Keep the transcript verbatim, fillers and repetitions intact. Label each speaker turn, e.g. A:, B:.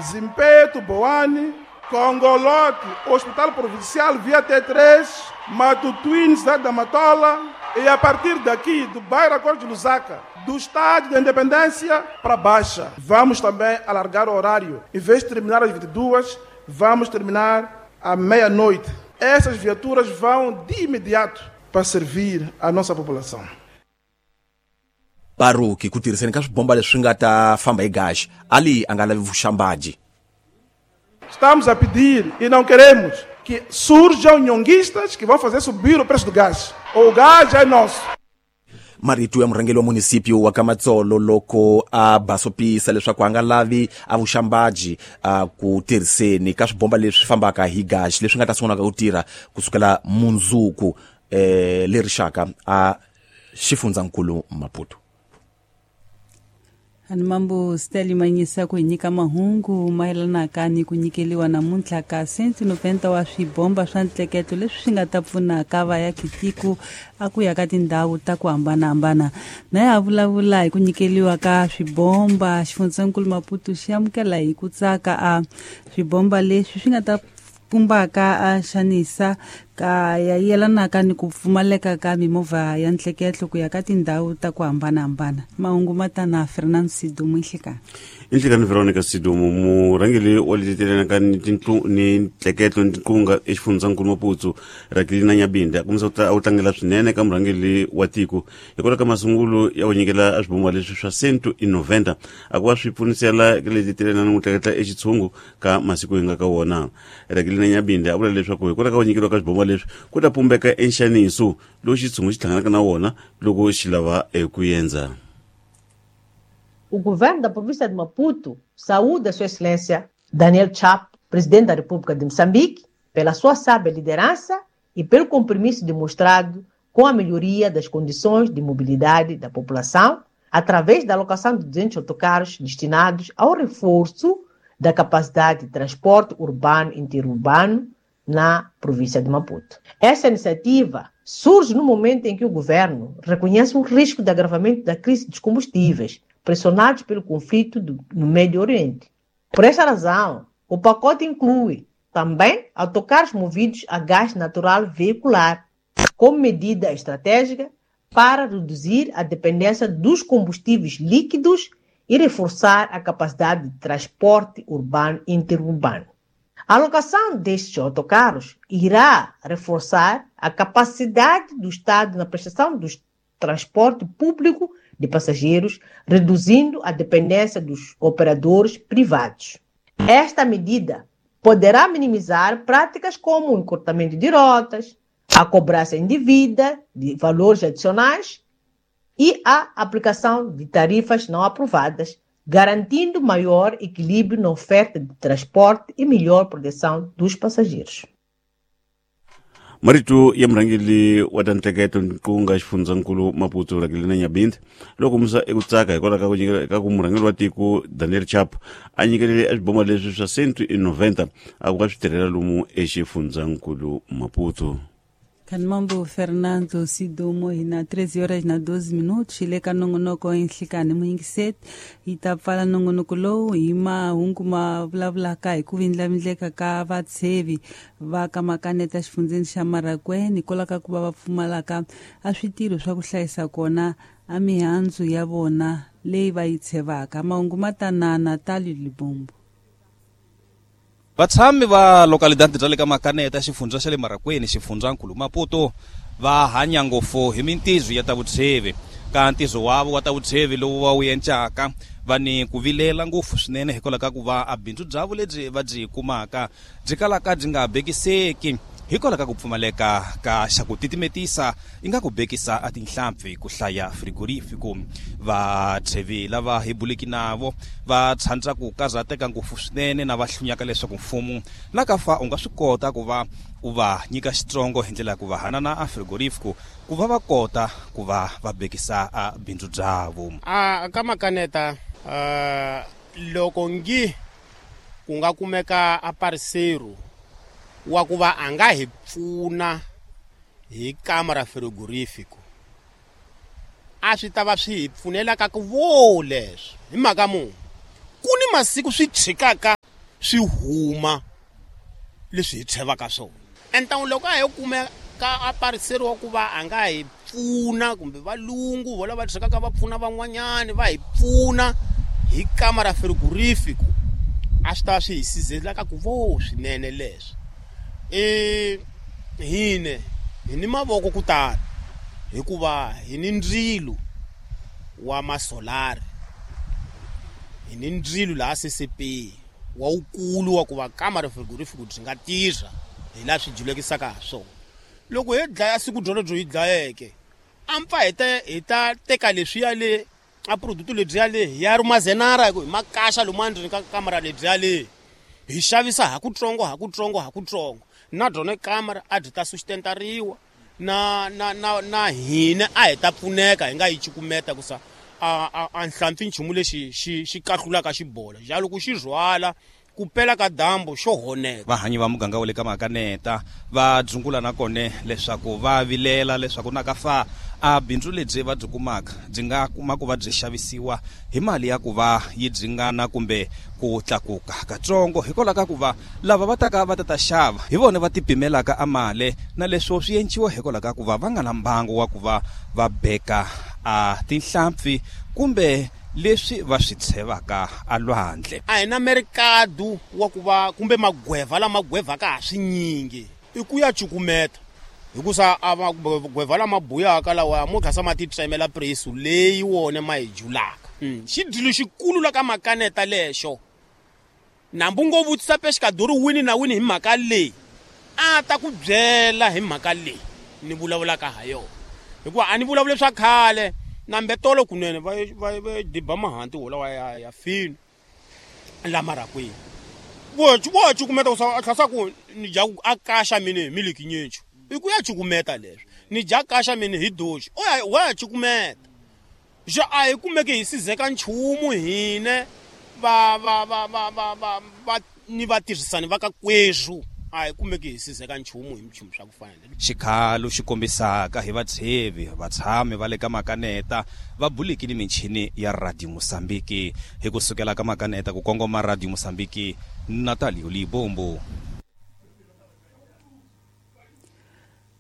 A: Zimpeto, Boane, Congolote, Hospital Provincial via T três, Matutuine, cidade da Matola, e a partir daqui, do bairro Acordo de Lusaka, do Estádio da Independência para Baixa. Vamos também alargar o horário. Em vez de terminar às vinte e duas, vamos terminar à meia-noite. Essas viaturas vão de imediato para servir a nossa população.
B: Baruki ku tirhiseni ka swibomba leswi nga ta famba hi gasi, Ali a nga lavi vuxambaji.
A: Estamos a pedir e não queremos que surjam nhonguistas que vão fazer subir o preço do gás. O gás é nosso.
B: Marito ya murhangeri wa munisipio wa Kamatsolo loko a basopisa leswaku a nga lavi a vuxambaji a ku tirhiseni ka swibomba leswi fambaka hi gasi leswi nga ta sungula ku tirha kusukela mundzuku eh leri xaka a xifundzankulu Maputo.
C: Ani mambo Steli Manyisa ku nyika mahungu mayelanaka ni ku nyikeliwa namuntlha ka cento e noventa wa swibomba swa ntleketo leswi swi nga ta pfunaka vayakitiko a ku ya ka tindhawu ta ku hambanahambana. Na ya vulavula hi ku nyikeliwa ka swibomba, xifundzankulu Maputo xi amukela hi ku tsaka a swibomba leswi swi nga ta pumbaka a xanisa ka ya yelanaka ni ku pfumaleka ka mimovha ya ntleketlo ku ya ka tindhawu ta ku hambanahambana. Mahungu ma ta na Fernando Sidumo inhlekani.
D: Inhlekani Veronica Sidumo, murhangeri wa letetelana ni tintlu ni ntleketlo ni tinqunga exifundzankulu Maputo Rakelina Nyabinde a kombisa ku a tlangela swinene ka murhangeri wa tiko hikwalaho ka masungulo ya ku nyikela swibomba leswi swa cento e noventa a ku va swi pfunisela ka letetelana ni ku tleketla exitshungu ka masiku hi nga ka wona. Rakelina Nyabinde a vula leswaku hikwalaho ka ku nyikeriwa ka swibomba leswi ku ta pumbeka enxaniso lowu xitshungu xi hlanganaka na wona loko xi lava eku endza.
E: O governo da província de Maputo saúda Sua Excelência Daniel Chapo, presidente da República de Moçambique, pela sua sábia liderança e pelo compromisso demonstrado com a melhoria das condições de mobilidade da população através da alocação de duzentos autocarros destinados ao reforço da capacidade de transporte urbano e interurbano na província de Maputo. Essa iniciativa surge no momento em que o governo reconhece um risco de agravamento da crise dos combustíveis, pressionados pelo conflito do, no Médio Oriente. Por esta razão, o pacote inclui também autocarros movidos a gás natural veicular, como medida estratégica para reduzir a dependência dos combustíveis líquidos e reforçar a capacidade de transporte urbano e interurbano. A alocação destes autocarros irá reforçar a capacidade do Estado na prestação do transporte público de passageiros, reduzindo a dependência dos operadores privados. Esta medida poderá minimizar práticas como o encurtamento de rotas, a cobrança indevida de valores adicionais e a aplicação de tarifas não aprovadas, garantindo maior equilíbrio na oferta de transporte e melhor proteção dos passageiros.
D: Marito ya murhangeri wa ta ntleketlo ku nga xifundzankulu Maputo Rakelina Nyabinde loko kombisa eku tsaka hikwalaho ka ku nyikela ka ku murhangeri wa tiko Daniel Chapo a nyikelele swibomba leswi swa cento e noventa a ku nga swi tirhela lomu exifundzankulu Maputo.
C: Kanmambo Fernando Sidumo hina treze horas na doze minutos le ka nongonoko enhlikani muyingiseti yi ta pfala nongonoko lowu hi mahungu ma vulavulaka hi ku vindlavindleka ka vatshevi va ka Makaneta xifundzeni xa Marraquene hikwalaho ka ku va va pfumalaka a switirho swa ku hlayisa kona a mihandzu ya vona leyi va yi tshevaka. Mahungu ma ta na Natalie Libombo.
F: Vatshami va localidade bya le ka Makaneta xifundza xa le Marraquene xifundzankulu Maputo va hanya ngopfu hi mintizo ya ta vutshevi. Ka ntizo wavo wa ta vutshevi lowu va wu encaka va ni ku vilela ngopfu swinene hikwalaho ka ku va a bindzu byavo lebyi va byi kumaka byi kalaka byi nga bekiseki hikwalaho ka ku pfumaleka ka xa ku titimetisa i nga ku bekisa a tinhlampfi ku hlaya frigorifico. Vatshevi lava hi buliki navo va tshandza ku karhateka ngopfu swinene na va hlunyaka leswaku mfumo na ka fa u nga swi kota ku va u va nyika xitsongo hi ndlela ya ku va hanana a frigorifico ku va va kota ku va va bekisa a bindzu byavo.
G: A ka Makaneta uh, loko ngi ku nga kumeka a parceiro wa ku va a nga hi pfuna hi kamara frigorifico a swi ta va swi hi pfunela ka ku vo leswi hi mhaka munhu ku ni masiku swi tshikaka swi huma leswi hi tshevaka swona. Enta loko a hi kumeka a pariseriwa ku va a nga hi pfuna kumbe valungu vo lava tshekaka va pfuna van'wanyani va hi pfuna hi kamara frigorifico, a swi ta swi hi sizela ka ku vo swinene leswi. E hine hi ni mavoko ku tala hikuva hi ni ndzilo wa masolari, hi ni ndzilo laha C C P wa wukulu wa ku va kamara frigorifico byi nga tirha hi laha swi julekisaka ha swona. Loko hi dlaya siku byolo byo hi dlayeke a mpfa hi ta hi ta teka leswiya le a product lebyiya le hi ya rumazenara hi ku hi makaxa lomu endzeni ka kamara lebyiya le hi xavisa ha kutsongo ha kutsongo ha kutsongo, na byona kamara a byi ta sustentariwa na na na na hina a hi ta pfuneka hi nga yi cukumeta ku sa a a nhlampfi nchumu lexi xi xi kahlulaka xibola ja loko xi rhwala ku pela ka dambu xo honeka.
F: Vahanyi va muganga wa le ka Makaneta va dzungula na kone leswaku va vilela leswaku na ka fa a bindzu lebyi va byi kumaka byi nga kuma ku va byi xavisiwa hi mali ya ku va yi dzingana kumbe ku tlakuka katsongo, hikwalaho ka ku va lava va taka va ta ta xava hi vona va tipimelaka a mali na leswo swi enciwa hikwalaho ka ku va va nga na mbangu wa ku va va beka a tinhlampfi kumbe leswi va swi tshevaka a lwandle.
G: A hi na merikadu wa ku va kumbe magweva lama gwevaka ha swinyingi i ku ya cukumeta hikusa a magweva lama buyaka lawa mo tlhasa ma ti tsemela presu leyi wona ma hi julaka. Xidilo xikulu la ka Makaneta lexo nambu ngo vutisa pexikadori wini na wini hi mhaka leyi a ta ku byela hi mhaka leyi ni vulavulaka ha yona, hikuva a ni vulavuli swa khale nambe tolo kunene va va va diba mahanti wolawa ya ya fini la marakwini vo vo cukumeta ku sa tlhasa ku ni dya a kaxa mine hi miliki nyinchi i ku ya cukumeta leswi ni dya kaxa mine hi doji o ya wa cukumeta ja a hi kumeke hi sizeka nchumu hine va va va va va va va ni vatirhisani va ka kwezhu a hi kumeke hi sizeka nchumu hi nchumu swa ku fana.
F: Xikhalo xi kombisaka hi vatshevi vatshami va le ka Makaneta va bulekile michini ya Radio Mozambique. Hi ku sukela ka Makaneta ku kongoma Radio Mozambique, Natalio Libombo.